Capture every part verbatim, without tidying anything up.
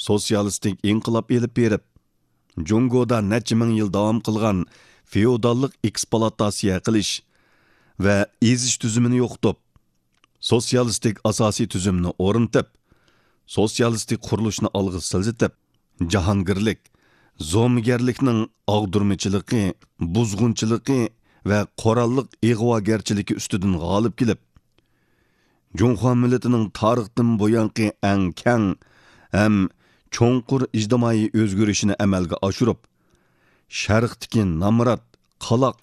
سوتسىيالىستىك ئىنقىلاب ئېلىپ بېرىپ، جۇڭگودا نەچچە مىڭ يىل داۋام قىلغان فېئوداللىق ئېكسپلۇئاتاتسىيە قىلىش ۋە ئېزىش تۈزۈمىنى يوقىتىپ، سوتسىيالىستىك ئاساسىي تۈزۈمنى ئورنىتىپ، سوتسىيالىستىك قۇرۇلۇشنى ئالغا سىلجىتىپ، جاھانگىرلىك، زومىگەرلىكنىڭ ئاغدۇرمىچىلىقى، بۇزغۇنچىلىقى ۋە قوراللىق ئىغۋاگەرچىلىكى ئۈستىدىن غالىب كېلىپ، جۇڭخۇا مىللىتىنىڭ تارىختىن بۇيانقى ئەڭ كەڭ ھەم چوڭقۇر ئىجتىمائىي ئۆزگىرىشىنى ئەمەلگە ئاشۇرۇپ، شەرقتىكى نامرات، قالاق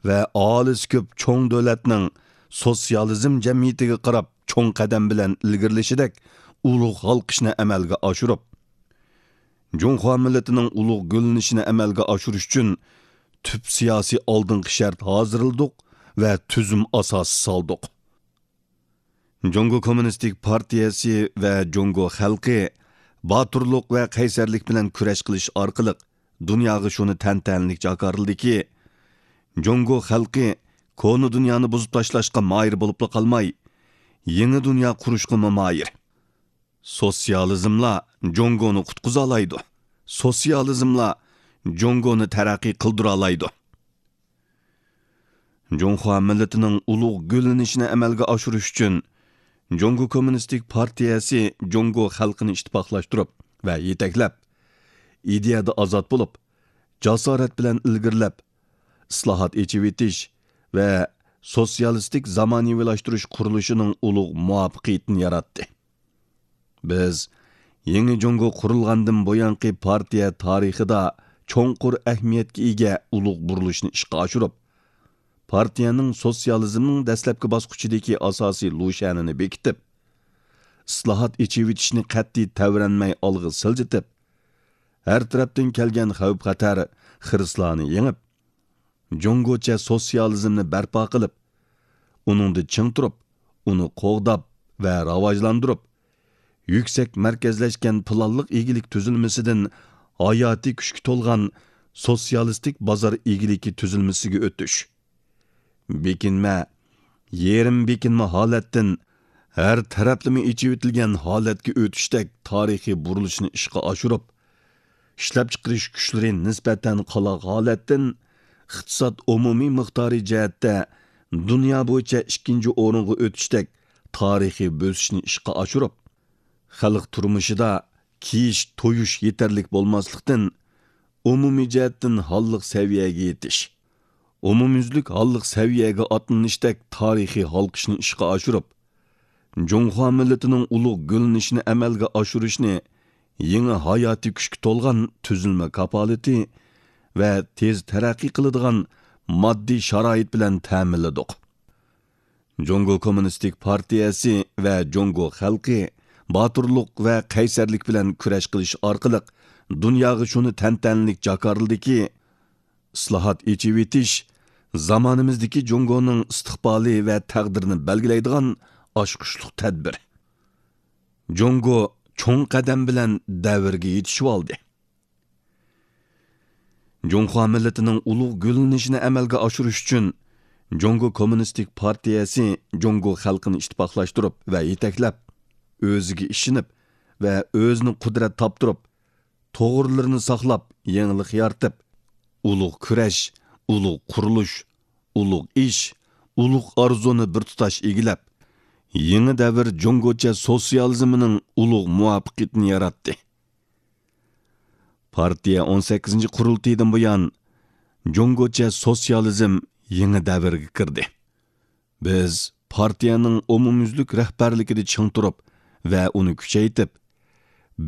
ۋە ئاھالىسى كۆپ چوڭ دۆلەتنىڭ سوتسىيالىزم جەمئىيىتىگە قاراپ چوڭ قەدەم بىلەن ئىلگىرىلىشىدەك ئۇلۇغ ھالقىشنى ئەمەلگە ئاشۇرۇپ، جۇڭخۇا مىللىتىنىڭ ئۇلۇغ گۈللىنىشىنى ئەمەلگە ئاشۇرۇش ئۈچۈن تۈپ سىياسىي ئالدىنقى شەرت ھازىرلىدۇق ۋە تۈزۈم ئاساسى سالدۇق. جۇڭگو كوممۇنىستىك پارتىيەسى ۋە جۇڭگو خەلقى باتۇرلۇق ۋە قەيسەرلىك بىلەن كۈرەش قىلىش ئارقىلىق دۇنياغا شۇنى تەنتەنىلىك جاكارلىدىكى، جۇڭگو خەلقى كونا دۇنيانى بۇزۇپ تاشلاشقا ماھىر بولۇپلا قالماي، يېڭى دۇنيا قۇرۇشقىمۇ ماھىر. سوتسىيالىزملا جۇڭگونى قۇتقۇزالايدۇ. سوتسىيالىزملا جۇڭگونى تەرەققىي قىلدۇرالايدۇ. جۇڭخۇا مىللىتىنىڭ ئۇلۇغ گۈللىنىشىنى ئەمەلگە ئاشۇرۇش ئۈچۈن، جۇڭگو كوممۇنىستىك پارتىيەسى جۇڭگو خەلقىنى ئىتتىپاقلاشتۇرۇپ ۋە يېتەكلەپ، ئىدىيەدە ئازاد بولۇپ، جاسارەت بىلەن ئىلگىرىلەپ، ئىسلاھات، ئېچىۋېتىش ۋە سوتسىيالىستىك زامانىۋىلاشتۇرۇش قۇرۇلۇشىنىڭ ئۇلۇغ مۇۋەپپەقىيىتىنى ياراتتى. بىز يېڭى جۇڭگو قۇرۇلغاندىن بۇيانقى پارتىيە تارىخىدا چوڭقۇر ئەھمىيەتكە ئىگە ئۇلۇغ بۇرۇلۇشنى ئىشقا ئاشۇرۇپ، پارتىيەنىڭ سوتسىيالىزمنىڭ دەسلەپكى باسقۇچىدىكى ئاساسىي لۇشيەنىنى بېكىتىپ، ئىسلاھات، ئېچىۋېتىشنى قەتئىي تەۋرەنمەي ئالغا سىلجىتىپ، ھەر تەرەپتىن كەلگەن خەۋپ-خەتەر، خىرىسلارنى يېڭىپ، جۇڭگوچە سوتسىيالىزمنى بەرپا قىلىپ، ئۇنىڭدا چىڭ تۇرۇپ، ئۇنى قوغداپ ۋە راۋاجلاندۇرۇپ، يۈكسەك مەركەزلەشكەن پىلانلىق ئىگىلىك تۈزۈلمىسىدىن ھاياتىي كۈچكە تولغان سوتسىيالىستىك بازار ئىگىلىكى تۈزۈلمىسىگە ئۆتۈش. بېكىنمە، يېرىم بېكىنمە ھالەتتىن ھەر تەرەپلىمە ئېچىۋېتىلگەن ھالەتكە ئۆتۈشتەك تارىخىي بۇرۇلۇشنى ئىشقا ئاشۇرۇپ، ئىشلەپچىقىرىش كۈچلىرى نىسبەتەن قالاق ھالەتتىن ئىقتىساد ئومۇمىي مىقدارى جەھەتتە دۇنيا بويىچە ئىككىنچى ئورۇنغا ئۆتۈشتەك تارىخىي بۆسۈشنى ئىشقا ئاشۇرۇپ، خەلق تۇرمۇشىدا كىيىش، تويۇش يېتەرلىك بولماسلىقتىن، ئومۇمىي جەھەتتىن ھاللىق سەۋىيەگە يېتىش، ئومۇميۈزلۈك ھاللىق سەۋىيەگە ئاتلىنىشتەك تارىخىي ھالقىشنى ئىشقا ئاشۇرۇپ، جۇڭخۇا مىللىتىنىڭ ئۇلۇغ گۈللىنىشىنى ئەمەلگە ئاشۇرۇشنى يېڭى ھاياتىي كۈچكە تولغان تۈزۈلمە كاپالىتى ۋە تېز تەرەققىي قىلىدىغان ماددىي شارائىت بىلەن تەمىنلىدۇق. جۇڭگو كوممۇنىستىك پارتىيەسى ۋە جۇڭگو خەلقى باتۇرلۇق ۋە قەيسەرلىك بىلەن كۈرەش قىلىش ئارقىلىق دۇنياغا شۇنى تەنتەنىلىك جاكارلىدىكى، ئىسلاھات، ئېچىۋېتىش زامانىمىزدىكى جۇڭگونىڭ ئىستىقبالى ۋە تەقدىرىنى بەلگىلەيدىغان ئاچقۇچلۇق تەدبىر. جۇڭگو چوڭ قەدەم بىلەن دەۋرگە يېتىشىۋالدى. جۇڭخۇا مىللىتىنىڭ ئۇلۇغ گۈللىنىشىنى ئەمەلگە ئاشۇرۇش ئۈچۈن، جۇڭگو كوممۇنىستىك پارتىيەسى جۇڭگو خەلقىنى ئىتتىپاقلاشتۇرۇپ ۋە يېتەكلەپ، ئۆزىگە ئىشىنىپ ۋە ئۆزىنى قۇدرەت تاپتۇرۇپ، توغرىلىرىنى ساقلاپ، يېڭىلىق يارىتىپ، ئۇلۇغ كۈرەش، ئۇلۇغ قۇرۇلۇش، ئۇلۇغ ئىش، ئۇلۇغ ئارزۇنى بىر تۇتاش ئىگىلەپ، يېڭى دەۋر جۇڭگوچە سوتسىيالىزمىنىڭ ئۇلۇغ مۇۋەپپەقىيىتىنى ياراتتى. پارتىيە ئون سەككىزىنچى قۇرۇلتىيىدىن بۇيان، جۇڭگوچە سوتسىيالىزم يېڭى دەۋرگە كىردى. بىز پارتىيەنىڭ ئومۇميۈزلۈك رەھبەرلىكىدە چىڭ تۇرۇپ ۋە ئۇنى كۈچەيتىپ،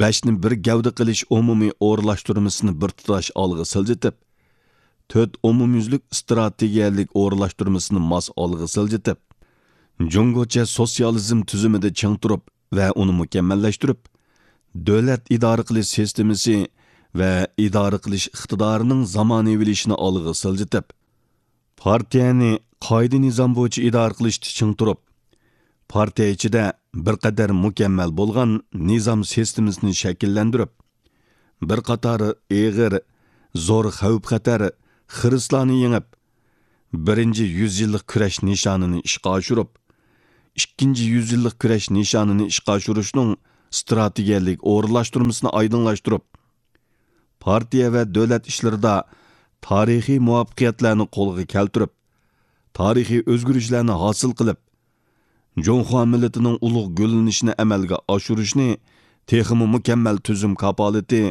بەشنى بىر گەۋدە قىلىش ئومۇمىي ئورۇنلاشتۇرمىسىنى بىر تۇتاش ئالغا سىلجىتىپ، تۆت ئومۇميۈزلۈك ئىستراتېگىيەلىك ئورۇنلاشتۇرمىسىنى ماس ئالغا سىلجىتىپ، جۇڭگوچە سوتسىيالىزم تۈزۈمىدە چىڭ تۇرۇپ ۋە ئۇنى مۇكەممەللەشتۈرۈپ، دۆلەت ئىدارە قىلىش سىستېمىسى ۋە ئىدارە قىلىش ئىقتىدارىنىڭ زامانىۋىلىشىشىنى ئالغا سىلجىتىپ، پارتىيەنى قائىدە-نىزام بويىچە ئىدارە قىلىشتا چىڭ تۇرۇپ، پارتىيە ئىچىدە بىر قەدەر مۇكەممەل بولغان نىزام سىستېمىسىنى شەكىللەندۈرۈپ، بىر قاتار ئېغىر، زور خەۋپ-خەتەر، خىرىسلارنى يېڭىپ، بىرىنچى يۈز يىللىق كۈرەش نىشانىنى ئىشقا ئاشۇرۇپ، ئىككىنچى يۈز يىللىق كۈرەش نىشانىنى ئىشقا ئاشۇرۇشنىڭ ئىستراتېگىيەلىك ئورۇنلاشتۇرمىسىنى ئايدىڭلاشتۇرۇپ، پارتىيە ۋە دۆلەت ئىشلىرىدا تارىخىي مۇۋەپپەقىيەتلەرنى قولغا كەلتۈرۈپ، تارىخىي ئۆزگىرىشلەرنى ھاسىل قىلىپ، جۇڭخۇا مىللىتىنىڭ ئۇلۇغ گۈللىنىشىنى ئەمەلگە ئاشۇرۇشنى تېخىمۇ مۇكەممەل تۈزۈم كاپالىتى،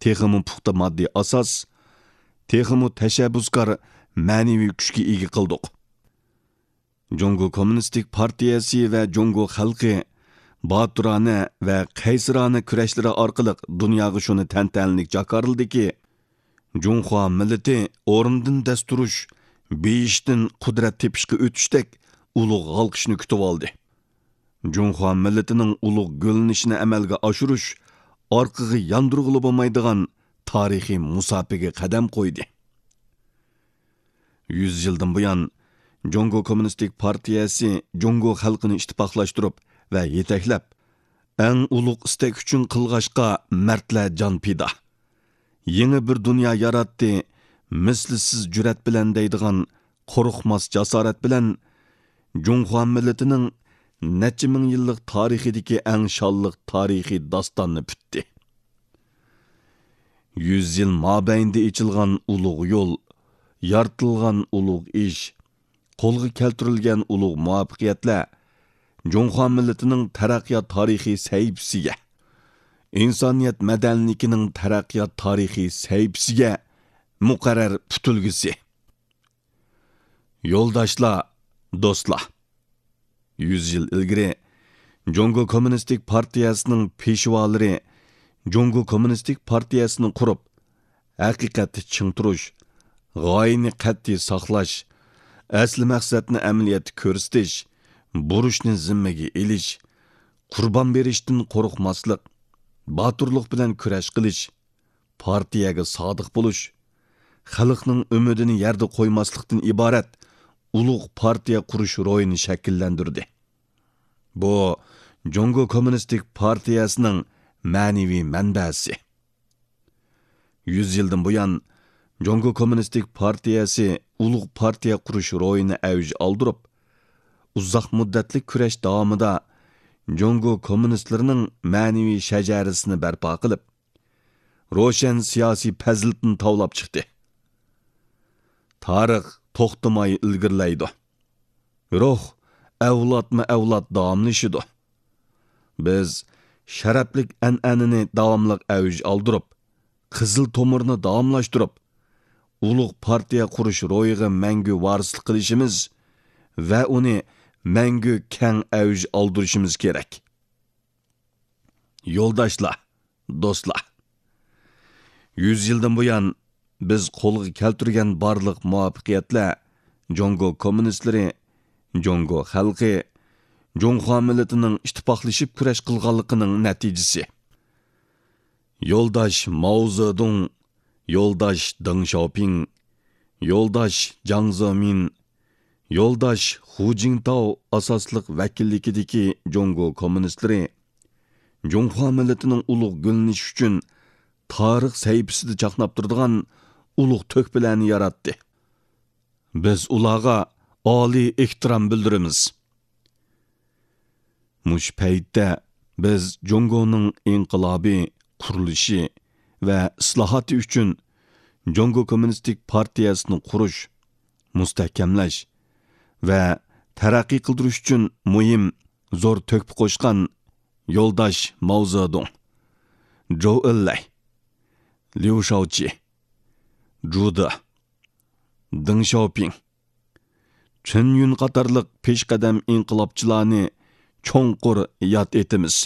تېخىمۇ پۇختا ماددىي ئاساس، تېخىمۇ تەشەببۇسكار مەنىۋى كۈچكە ئىگە قىلدۇق. جۇڭگو كوممۇنىستىك پارتىيەسى ۋە جۇڭگو خەلقى باتۇرانە ۋە قەيسىرانە كۈرەشلىرى ئارقىلىق دۇنياغا شۇنى تەنتەنىلىك جاكارلىدىكى، جۇڭخۇا مىللىتى ئورنىدىن دەس تۇرۇش، بېيىشتىن قۇدرەت تېپىشقا ئۆتۈشتەك ئۇلۇغ ھالقىشنى كۈتۈۋالدى. جۇڭخۇا مىللىتىنىڭ ئۇلۇغ گۈللىنىشىنى ئەمەلگە ئاشۇرۇش ئارقىغا ياندۇرغىلى بولمايدىغان تارىخىي مۇساپىگە قەدەم قويدى. يۈز يىلدىن بۇيان، جۇڭگو كوممۇنىستىك پارتىيەسى جۇڭگو خەلقىنى ئىتتىپاقلاشتۇرۇپ ۋە يېتەكلەپ، ئەڭ ئۇلۇغ ئىستەك ئۈچۈن قىلغاچقا مەردلەر جان پىدا. يېڭى بىر دۇنيا ياراتتى، مىسلىسىز جۈرئەت بىلەن دەيدىغان قورقماس جاسارەت بىلەن جۇڭخۇا مىللىتىنىڭ نەچچە مىڭ يىللىق تارىخىدىكى ئەڭ شانلىق تارىخىي داستاننى پۈتتى. يۈز يىل مابەينىدە ئېچىلغان ئۇلۇغ يول، يارىتىلغان ئۇلۇغ ئىش، قولغا كەلتۈرۈلگەن ئۇلۇغ مۇۋەپپەقىيەتلەر جۇڭخۇا مىللىتىنىڭ تەرەققىيات تارىخىي سەھىپىسىگە، ئىنسانىيەت مەدەنىيلىكىنىڭ تەرەققىيات تارىخىي سەھىپىسىگە مۇقەررەر پۈتۈلگۈسى. يولداشلار، دوستلار! يۈز يىل ئىلگىرى جۇڭگو كوممۇنىستىك پارتىيەسىنىڭ پېشۋالىرى جۇڭگو كوممۇنىستىك پارتىيەسىنى قۇرۇپ، ھەقىقەتتە چىڭ تۇرۇش، غايىنى قەتئىي ساقلاش، ئەسلى مەقسەتنى ئەمەلىيەتتە كۆرسىتىش، بۇرچنى زىممىگە ئېلىش، قۇربان بېرىشتىن قورقماسلىق، باتۇرلۇق بىلەن كۈرەش قىلىش، پارتىيەگە سادىق بولۇش، خەلقنىڭ ئۈمىدىنى يەردە قويماسلىقتىن ئىبارەت ئۇلۇغ پارتىيە قۇرۇش روھىنى شەكىللەندۈردى. بۇ جۇڭگو كوممۇنىستىك پارتىيەسىنىڭ مەنىۋى مەنبەسى. يۈز يىلدىن بۇيان، جۇڭگو كوممۇنىستىك پارتىيەسى ئۇلۇغ پارتىيە قۇرۇش روھىنى ئەۋج ئالدۇرۇپ، ئۇزاق مۇددەتلىك كۈرەش داۋامىدا جۇڭگو كوممۇنىستلىرىنىڭ مەنىۋى شەجەرىسىنى بەرپا قىلىپ، روشەن سىياسىي پەزىلىتىنى تاۋلاپ چىقتى. تارىخ توختىماي ئىلگىرىلەيدۇ. روھ ئەۋلادمۇ ئەۋلاد داۋاملىشىدۇ. بىز شەرەپلىك ئەنئەنىنى داۋاملىق ئەۋج ئالدۇرۇپ، قىزىل تومۇرنى داۋاملاشتۇرۇپ، ئۇلۇغ پارتىيە قۇرۇش روھىغا مەڭگۈ ۋارىسلىق قىلىشىمىز ۋە ئۇنى مەڭگۈ كەڭ ئەۋج ئالدۇرۇشىمىز كېرەك. يولداشلار، دوستلار! يۈز يىلدىن بۇيان بىز قولغا كەلتۈرگەن بارلىق مۇۋەپپەقىيەتلەر جۇڭگو كوممۇنىستلىرى، جۇڭگو خەلقى، جۇڭخۇا مىللىتىنىڭ ئىتتىپاقلىشىپ كۈرەش قىلغانلىقىنىڭ نەتىجىسى. يولداش ماۋزېدۇڭ، يولداش دېڭ شياۋپىڭ، يولداش جياڭ زېمىن، يولداش خۇ جىڭتاۋ ئاساسلىق ۋەكىللىكىدىكى جۇڭگو كوممۇنىستلىرى جۇڭخۇا مىللىتىنىڭ ئۇلۇغ گۈللىنىشى ئۈچۈن تارىخ سەھىپىسىدە چاقناپ تۇرىدىغان ئۇلۇغ تۆھپىلەرنى ياراتتى. بىز ئۇلارغا ئالىي ئېھتىرام بىلدۈرىمىز. مۇشۇ پەيتتە بىز جۇڭگونىڭ ئىنقىلابى، قۇرۇلۇشى ۋە ئىسلاھاتى ئۈچۈن جۇڭگو كوممۇنىستىك پارتىيەسىنى قۇرۇش، مۇستەھكەملەش ۋە تەرەققىي قىلدۇرۇش ئۈچۈن مۇھىم، زور تۆھپە قوشقان يولداش ماۋزېدۇڭ، جوۋ ئېنلەي، ليۇ شياۋچى، جۇ دې، دېڭ شياۋپىڭ، چېن يۈن قاتارلىق پېشقەدەم ئىنقىلابچىلارنى چوڭقۇر ياد ئېتىمىز.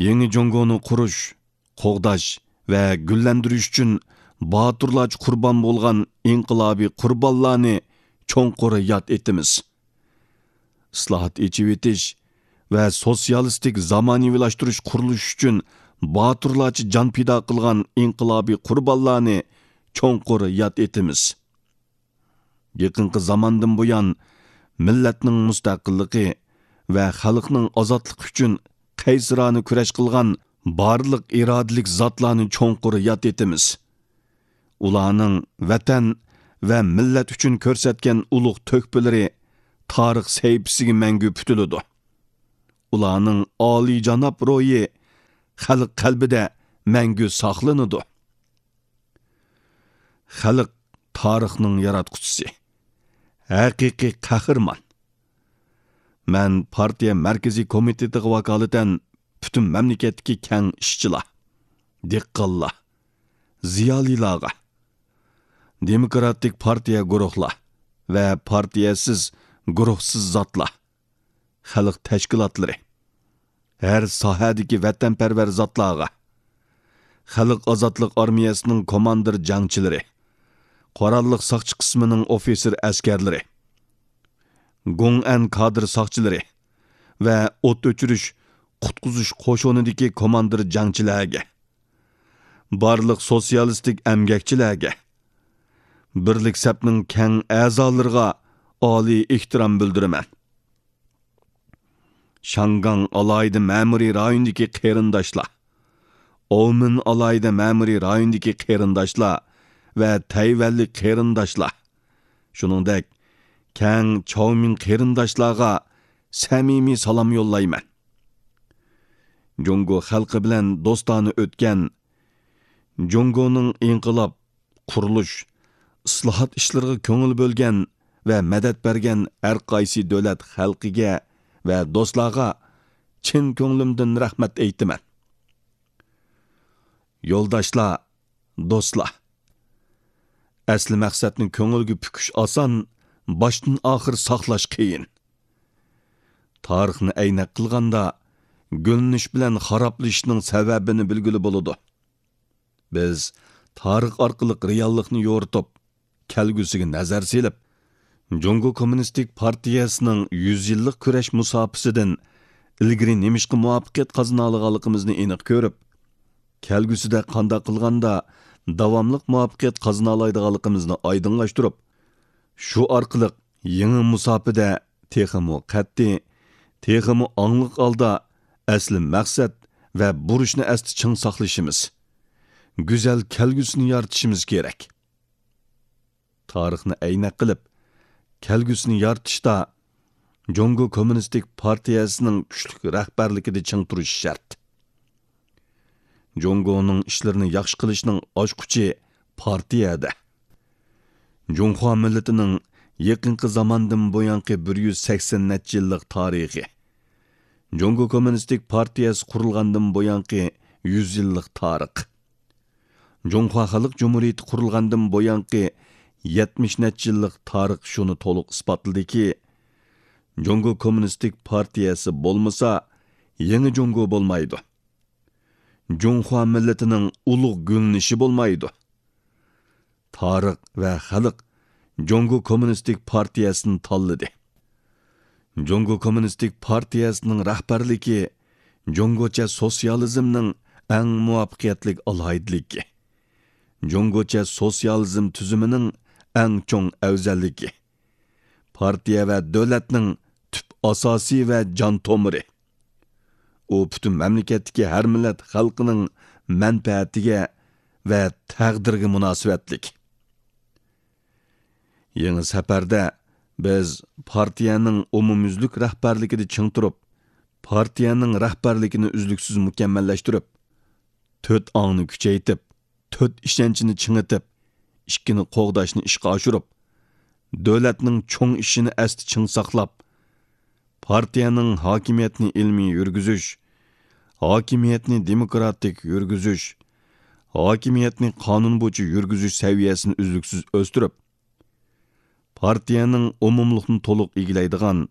يېڭى جۇڭگونى قۇرۇش، قوغداش ۋە گۈللەندۈرۈش ئۈچۈن باتۇرلارچە قۇربان بولغان ئىنقىلابىي قۇربانلارنى چوڭقۇر ياد ئېتىمىز. ئىسلاھات، ئېچىۋېتىش ۋە سوتسىيالىستىك زامانىۋىلاشتۇرۇش قۇرۇلۇشى ئۈچۈن باتۇرلارچە جان پىدا قىلغان ئىنقىلابىي قۇربانلارنى چوڭقۇر ياد ئېتىمىز. يېقىنقى زاماندىن بۇيان، مىللەتنىڭ مۇستەقىللىقى ۋە خەلقنىڭ ئازادلىقى ئۈچۈن قەيسىرانە كۈرەش قىلغان بارلىق ئىرادىلىك زاتلارنى چوڭقۇر ياد ئېتىمىز. ئۇلارنىڭ ۋەتەن ۋە مىللەت ئۈچۈن كۆرسەتكەن ئۇلۇغ تۆھپىلىرى تارىخ سەھىپىسىگە مەڭگۈ پۈتۈلىدۇ. ئۇلارنىڭ ئالىيجاناب روھى خەلق قەلبىدە مەڭگۈ ساقلىنىدۇ. خەلق تارىخنىڭ ياراتقۇچىسى، ھەقىقىي قەھرىمان. مەن پارتىيە مەركىزىي كومىتېتىغا ۋاكالىتەن پۈتۈن مەملىكەتتىكى كەڭ ئىشچىلار، دېھقانلار، زىيالىيلارغا، دېموكراتىك پارتىيە گۇرۇھلار ۋە پارتىيەسىز، گۇرۇھسىز زاتلار، خەلق تەشكىلاتلىرى، ھەر ساھەدىكى ۋەتەنپەرۋەر زاتلارغا، خەلق ئازادلىق ئارمىيەسىنىڭ كوماندىر جەڭچىلىرى، قوراللىق ساقچى قىسمىنىڭ ئوفىتسېر ئەسكەرلىرى، گوڭئەن كادىر ساقچىلىرى ۋە ئوت ئۆچۈرۈش، قۇتقۇزۇش قوشۇنىدىكى كوماندىر جەڭچىلەرگە، بارلىق سوتسىيالىستىك ئەمگەكچىلەرگە، بىرلىك سەپنىڭ كەڭ ئەزالىرىغا ئالىي ئېھتىرام بىلدۈرىمەن. شاڭگاڭ ئالاھىدە مەمۇرىي رايونىدىكى قېرىنداشلار، ئومېن ئالاھىدە مەمۇرىي رايونىدىكى قېرىنداشلار ۋە تەيۋەنلىك قېرىنداشلار، شۇنىڭدەك كەڭ چاۋمىن قېرىنداشلارغا سەمىمىي سالام يوللايمەن. جۇڭگو خەلقى بىلەن دوستانە ئۆتكەن، جۇڭگونىڭ ئىنقىلاب، قۇرۇلۇش، ئىسلاھات ئىشلىرىغا كۆڭۈل بۆلگەن ۋە مەدەت بەرگەن ھەر قايسى دۆلەت خەلقىگە ۋە دوستلارغا چىن كۆڭلۈمدىن رەھمەت ئېيتىمەن. يولداشلار، دوستلار، ئەسلى مەقسەتنى كۆڭۈلگە پۈكۈش ئاسان، باشتىن ئاخىر ساقلاش قىيىن. تارىخنى ئەينەك قىلغاندا، گۈللىنىش بىلەن خارابلىشىشنىڭ سەۋەبىنى بىلگىلى بولىدۇ. بىز تارىخ ئارقىلىق رېئاللىقنى يورۇتۇپ، كەلگۈسىگە نەزەر سېلىپ، جۇڭگو كوممۇنىستىك پارتىيەسىنىڭ يۈز يىللىق كۈرەش مۇساپىسىدىن ئىلگىرى نېمىشقا مۇۋەپپەقىيەت قازىنالىغانلىقىمىزنى ئېنىق كۆرۈپ، كەلگۈسىدە قانداق قىلغاندا داۋاملىق مۇۋەپپەقىيەت قازىنالايدىغانلىقىمىزنى ئايدىڭلاشتۇرۇپ، شۇ ئارقىلىق يېڭى مۇساپىدە تېخىمۇ قەتئىي، تېخىمۇ ئاڭلىق ھالدا ئەسلى مەقسەت ۋە بۇرچنى ئەستە چىڭ ساقلىشىمىز، گۈزەل كەلگۈسىنى يارىتىشىمىز كېرەك. تارىخنى ئەينەك قىلىپ، كەلگۈسىنى يارىتىشتا جۇڭگو كوممۇنىستىك پارتىيەسىنىڭ كۈچلۈك رەھبەرلىكىدە چىڭ تۇرۇشى شەرت. جۇڭگونىڭ ئىشلىرىنى ياخشى قىلىشنىڭ ئاچقۇچى پارتىيەدە. جۇڭخۇا مىللىتىنىڭ يېقىنقى زاماندىن بۇيانقى بىر يۈز سەكسەن نەچچە يىللىق تارىخى. جۇڭگو كوممۇنىستىك پارتىيەسى قۇرۇلغاندىن بۇيانقى يۈز يىللىق تارىخ. جۇڭخۇا خەلق جۇمھۇرىيىتى قۇرۇلغاندىن بۇيانقى يەتمىش نەچچە يىللىق تارىخ شۇنى تولۇق ئىسپاتلىدىكى، جۇڭگو كوممۇنىستىك پارتىيەسى بولمىسا، يېڭى جۇڭگو بولمايدۇ. جۇڭخۇا مىللىتىنىڭ ئۇلۇغ گۈللىنىشى بولمايدۇ. تارىخ ۋە خەلق جۇڭگو كوممۇنىستىك پارتىيەسىنى تاللىدى. جۇڭگو كوممۇنىستىك پارتىيەسىنىڭ رەھبەرلىكى جۇڭگوچە سوتسىيالىزمنىڭ ئەڭ مۇۋەپپەقىيەتلىك ئالاھىدىلىكى، جۇڭگوچە سوتسىيالىزم تۈزۈمىنىڭ ئەڭ چوڭ ئەۋزەللىكى، پارتىيە ۋە دۆلەتنىڭ تۈپ ئاساسى ۋە جان تومۇرى. ئۇ پۈتۈن مەملىكەتتىكى ھەر مىللەت خەلقىنىڭ مەنپەئەتىگە ۋە تەقدىرىگە مۇناسىۋەتلىك. يېڭى سەپەردە بىز پارتىيەنىڭ ئومۇميۈزلۈك رەھبەرلىكىدە چىڭ تۇرۇپ، پارتىيەنىڭ رەھبەرلىكىنى ئۈزلۈكسىز مۇكەممەللەشتۈرۈپ، تۆت ئاڭنى كۈچەيتىپ، تۆت ئىشەنچنى چىڭىتىپ، ئىككىنى قوغداشنى ئىشقا ئاشۇرۇپ، دۆلەتنىڭ چوڭ ئىشىنى ئەستە چىڭ ساقلاپ، پارتىيەنىڭ ھاكىمىيەتنى ئىلمىي يۈرگۈزۈش، ھاكىمىيەتنى دېموكراتىك يۈرگۈزۈش، ھاكىمىيەتنى قانۇن بويىچە يۈرگۈزۈش سەۋىيەسىنى ئۈزلۈكسىز ئۆستۈرۈپ، پارتىيەنىڭ ئومۇملۇقنى تولۇق ئىگىلەيدىغان،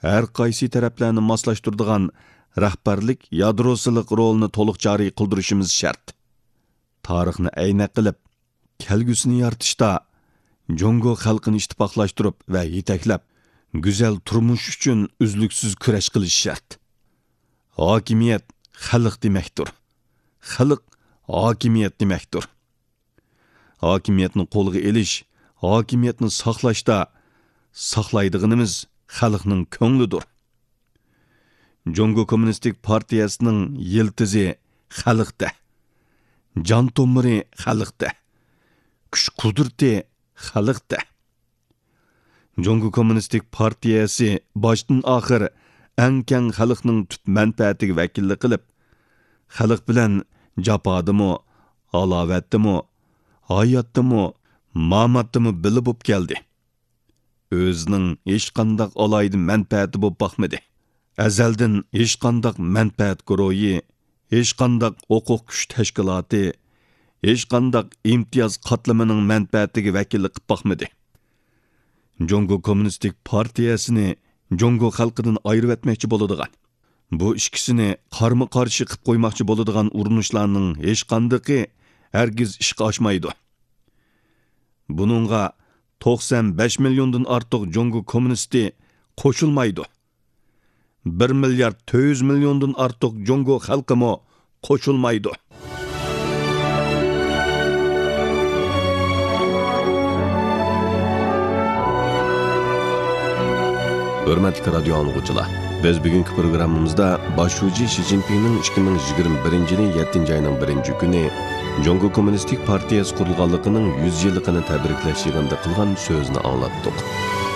ھەر قايسى تەرەپلەرنى ماسلاشتۇرىدىغان رەھبەرلىك يادروسىلىق رولىنى تولۇق جارى قىلدۇرۇشىمىز شەرت. تارىخنى ئەينەك قىلىپ، كەلگۈسىنى يارىتىشتا جۇڭگو خەلقىنى ئىتتىپاقلاشتۇرۇپ ۋە يېتەكلەپ، گۈزەل تۇرمۇش ئۈچۈن ئۈزلۈكسىز كۈرەش قىلىش شەرت. ھاكىمىيەت خەلق دېمەكتۇر. خەلق ھاكىمىيەت دېمەكتۇر. ھاكىمىيەتنى قولغا ئېلىش، ھاكىمىيەتنى ساقلاشتا ساقلايدىغىنىمىز خەلقنىڭ كۆڭلىدۇر. جۇڭگو كوممۇنىستىك پارتىيەسىنىڭ يىلتىزى خەلقتە، جان تومۇرى خەلقتە، كۈچ قۇدرىتى خەلقتە. جۇڭگو كوممۇنىستىك پارتىيەسى باشتىن ئاخىر ئەڭ كەڭ خەلقنىڭ تۈپ مەنپەئەتىگە ۋەكىللىك قىلىپ، خەلق بىلەن جاپادىمۇ، ھالاۋەتتىمۇ، ھاياتتىمۇ، ماماتتىمۇ بىللە بولۇپ كەلدى. ئۆزىنىڭ ھېچقانداق ئالاھىدە مەنپەئەتى بولۇپ باقمىدى. ئەزەلدىن ھېچقانداق مەنپەئەت گۇرۇھى، ھېچقانداق ھوقۇق كۈچ تەشكىلاتى، ھېچقانداق ئىمتىياز قاتلىمىنىڭ مەنپەئەتىگە ۋەكىللىك قىلىپ باقمىدى. جۇڭگو كوممۇنىستىك پارتىيەسىنى جۇڭگو خەلقىدىن ئايرىۋەتمەكچى بولىدىغان، بۇ ئىككىسىنى قارمۇ قارشى قىلىپ قويماقچى بولىدىغان ئۇرۇنۇشلارنىڭ ھېچقاندىقى ھەرگىز ئىشقا ئاشمايدۇ. بۇنىڭغا توقسان بەش مىليوندىن ئارتۇق جۇڭگو كوممۇنىستى قوشۇلمايدۇ. بىر مىليارد تۆت يۈز مىليوندىن ئارتۇق جۇڭگو خەلقىمۇ قوشۇلمايدۇ. ھۆرمەتلىك رادىيو ئاڭلىغۇچىلار، بىز بۈگۈنكى پروگراممىمىزدا باش شۇجى شى جىنپىڭنىڭ ئىككى مىڭ يىگىرمە بىرىنچى يىلى يەتتىنچى ئاينىڭ بىرىنچى كۈنى جۇڭگو كوممۇنىستىك پارتىيەسى قۇرۇلغانلىقىنىڭ يۈز يىللىقىنى تەبرىكلەش يىغىنىدا قىلغان سۆزىنى ئاڭلاتتۇق.